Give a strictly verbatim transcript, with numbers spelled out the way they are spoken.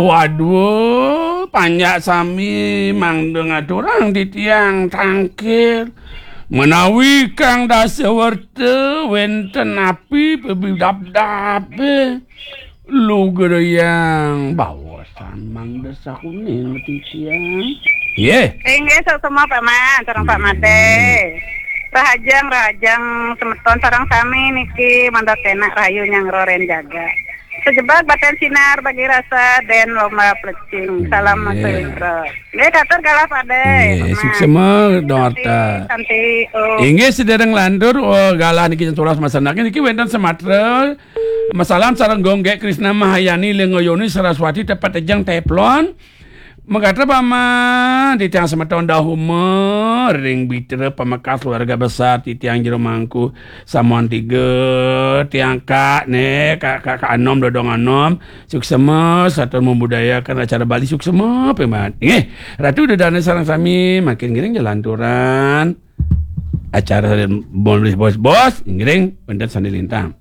Waduh, panjak sami mangda ngaturang titiang tangkil. Menawi kang dasawerta wenten api pebidabdabe, lugrayang baosan mangda sakuning titiang. Nggih. Inggih, suksma Pak Man, sareng Pak Made. Rahajeng, rahajeng semeton sareng sami niki mangda kenak rahayu nyanggra ren jaga. Sejebag baten sinar bagi rasa den lomba plecing. Salam Mas Indra. Nggih, katur galah Pak De. Nggih, suksma, Dong Arta. Santi, oh. Inggih, sedereng lantur, oh, galah niki turas masanak niki wenten Sumatera. Masalam sareng Gonggek Krisna Mahayani Lengoyoni Saraswati tepat tejang Teflon. Megatra paman, titiang semeton dahuma ring bitra pamekas keluarga besar titiang Jero Mangku Samuan tiga, tiang kak ne, kak, kak, kak anom, dodong anom, suksema, satur membudayakan acara Bali suksema, pemat. Nggih, Ratu Dedana sareng sami, makin ngiring jalanturan acara bos, bos, bos, ngiring, wenten sandi lintang.